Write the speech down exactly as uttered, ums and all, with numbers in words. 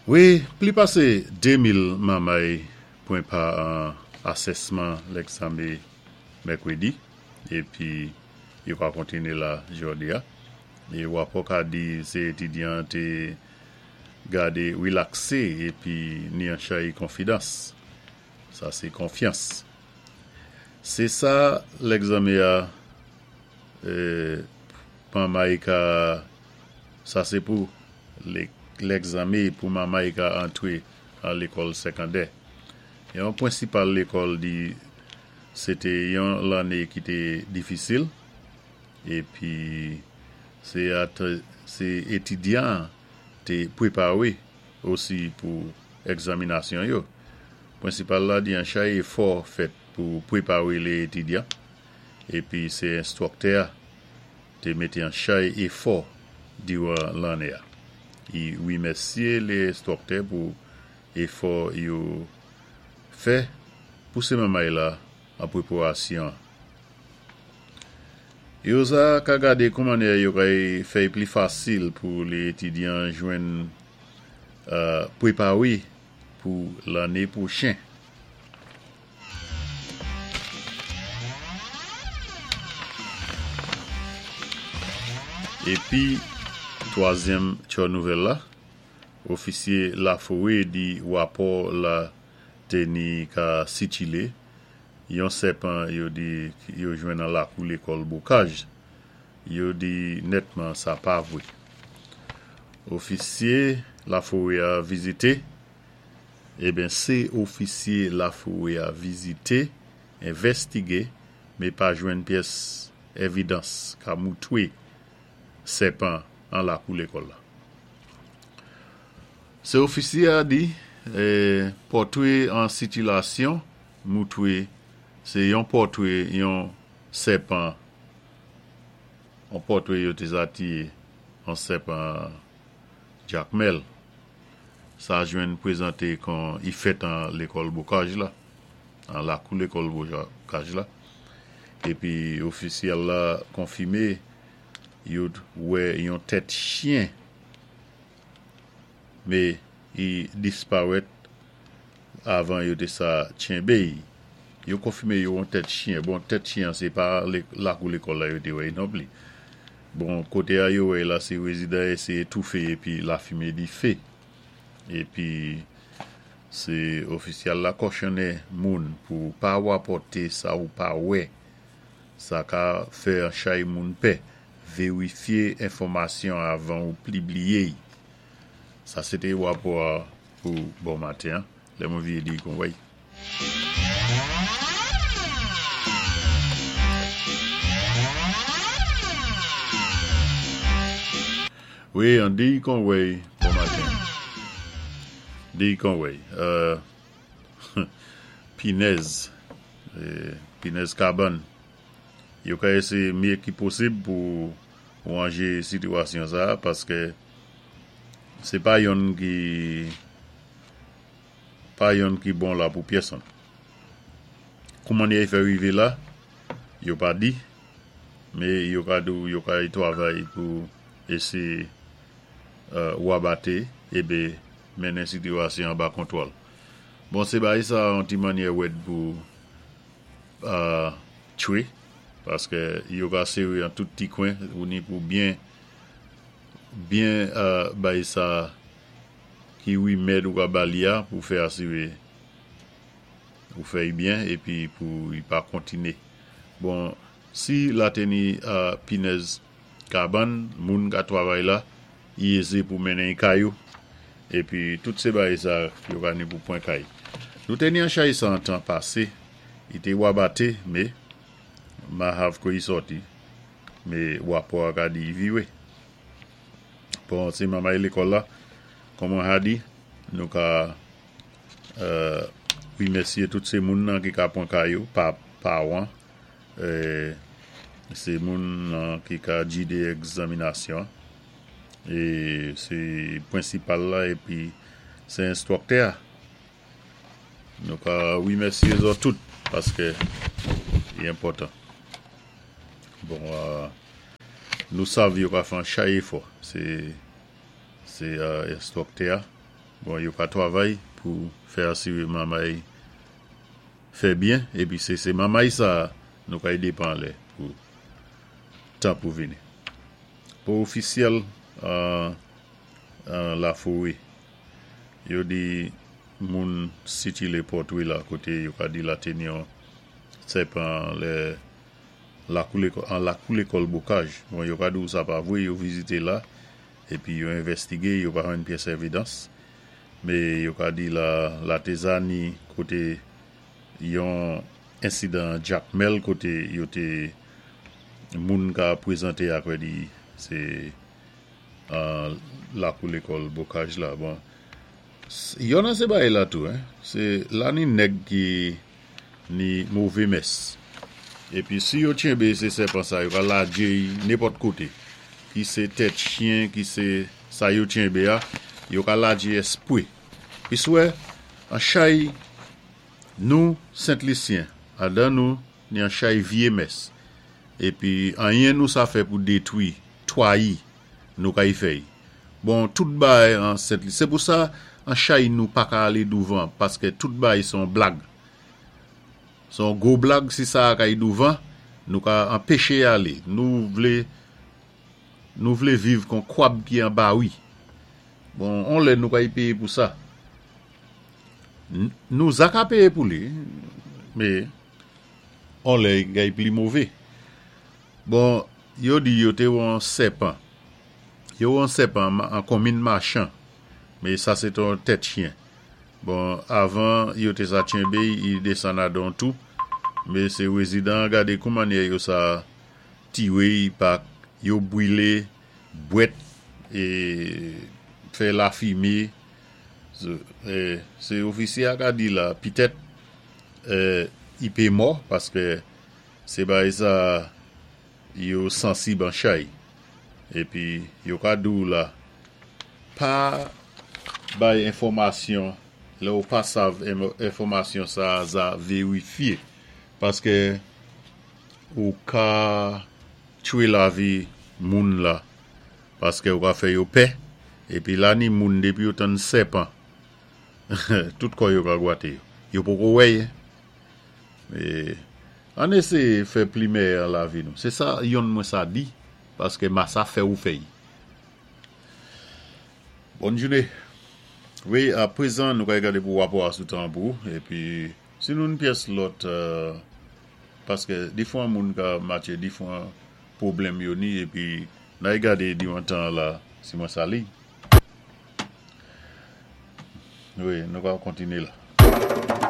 Wi, pli pasé dé mil manmay pwan pa an asèsman lègzanmé mèkwédi épi yo ka kontiné la jòdi-a. É wapò ka di sé étidyan té gadé wilaksé épi ni an chay konfidans. Sa sé konfyans. Sé sa lègzanmé-a manmay ka, sa sé pou lègzanmé pou manmay ka antwé an lékòl sékondè. Yon pwensipal lékòl di sé té yon lanné ki té difisil épi sé étidyan té pwépawé osi pou ègzaminasyon yo. Pwensipal la di an chay éfò fèt pou pwépawé lé étidyan épi sé enstwiktè té mété an chay éfò diwan lanné-a. I wimèsyé lé enstwiktè pou éfò yo fè pou sé manmay la an pwépawasyon. Yo sa ka gadé kou mannyè yo kay fè'y pli fasil pou lé étidyan jwenn pwépawé pou lanné pwochen. Épi, twazyèm tjo nouvèl la, ofisyé Laforé di wapò la té ni ka sikilé yon sèpan yo di yo jwenn an lakou lékòl Bocage. Yo di nètman sa pa vwé. Ofisyé Laforé-a vizité, eben sé ofisyé Laforé-a vizité, envèstigé, mé pa jwenn pyès évidans ka moutwé sèpan an lakou lékòl la. Sé ofisyé-a di, pòtwé an sikilasyon moutwé sé yon pòtwé yon sèpan, an pòtwé yo té zati an sèpan Jakmèl. Sa jwenn pwézanté kon i fèt an lékòl Bocage la, an lakou lékòl Bocage la. Épi ofisyèl la konfimé yo wè yon tèt chyen, mé i disparèt avan yo té sa tchenbé'y. Yo konfimé yo yon tèt chyen. Bon, tèt chyen sé pa lakou lékòl la yo té wè'y non pli. Bon, koté a yo wè'y la sé wézidan éséyé toufé épi lafimen difé. Épi sé ofisyèl la kòchonnen moun pou pa wapòté sa ou pa wè. Sa ka fè an chay moun pè. Vérifyé enfòmasyon avan ou pibliye'y. Sa sé té wapò pou bon maten. Lè mwen vyé di kon wèy. Wi, an di kon wèy bon maten. Di kon wèy. Pinèz. Pinèz kabann. Yo ka éséyé myé ki posib pou wanjé sitiwasyon sa paské sé pa yonn ki pa yonn ki bon la pou pyèsonn. Kou mannyè i fè rivé la, yo pa di, mé yo ka di yo kay twavay pou éséyé wabaté ébé mennen sitiwasyon anba kontwòl. Bon, sé bagay sa an ti mannyè wèd pou tchwé, paské yo ka séwé an tout ti kwen, ou ni pou byen byen bay sa ki wimèd ou ka ba li-a pou fè asiré ou fè'y byen épi pou i pa kontiné. Bon, si la té ni pinèz kabann, moun ka twavay la, i ézé pou mennen kay ou, épi tout sé bagay sa yo ka ni pou pwan kay. Nou té ni an chay sa an tan pasé, i té wabaté, mé mahav ko i sòti, mé wapò a ka di i viwé. Bon, sé manmay lékòl la, kon mwen ha di, nou ka wimèsyé tout sé moun nan ki ka pwan kay yo, pa pawan, sé moun nan ki ka gidé ègzaminasyon, é sé pwensipal la épi sé enstwiktè. Nou ka wimèsyé zòt tout, paské i enpòtan. Bon, nou sav yo ka fè an chay éfò, sé enstwiktè Bon, yo ka twavay pou fè asiwé mamay fè byen, épi sé sé mamay sa nou kay dépan lè pou tan pou vini. Pou ofisyèl an Laforé, yo di moun sitilé pòtwé la koté yo ka di la té ni yon sèpan lè an lakou lékòl Bokaj. Bon, yo ka di ou sa pa vwé, yo vizité la, épi yo envèstigé, yo pa jwenn pyès évidans. Mé yo ka di la la té za ni koté yon ensidan Jakmèl koté yo té moun ka pwézanté akwè di sé an lakou lékòl Bokaj la. Bon, yon an sé bagay la tou, sé la ni nèg ki ni mové mès. Épi si yo tchenbé sé sèpan sa, yo ka ladjé nenpòt koté. Ki sé tèt chyen, ki sé sa yo tchenbé a, yo ka ladjé èspwé. Pi swè, an chay nou Sent Lisyen, adan nou ni an chay vyé mès. Épi anyen nou sa fè pou détwi, twayi, nou kay fèy. Bon, tout bagay an Sent Lisyen. Sé pou sa, an chay nou pa ka alé douvan, paské tout bagay son blag. Son gwo blag si sa kay douvan, nou ka anpéché alé. Nou vlé nou vlé viv kon kwab ki an bawi. Bon, on lè nou kay péyé pou sa. Nou za ka péyé pou li, mé on lè kay pli mové. Bon, yo di yo té wè an sèpan. Yo wè an sèpan an konmin Machan. Mé sa sé ton tèt chyen. Bon, avan yo té sa tchenbé, yi désann adan tou. Mé sé wézidan gadé kou mannyè yo sa tiwé pak yo bwilé bwèt é fè lafimé. Sé ofisyé a ka di la, pitèt i pé mò, paské sé bagay sa yo sansib an chay. Épi yo ka di ou la, pa bay enfòmasyon, lè ou pa sav enfòmasyon sa za vérifyé. Paské ou ka tchwé lavi moun la, paské ou ka fè yo pè, épi la ni moun dépi yo tann sèpan, tout kò yo ka gwaté yo. Yo poko wè. Ann éséyé fè pli mèyè an lavi nou. Sé sa yonn mwen sa di, paské ma sa fè ou fèy. Bòn jouné. Wi, a pwézan nou kay gadé pou wapò a sou tan pou, épi si nou pyès lòt, paské difwan moun ka matché difwan pwoblèm yo ni, épi nay gadé diwan tan la, si mwen sa li. Wi, nou ka kontiné la.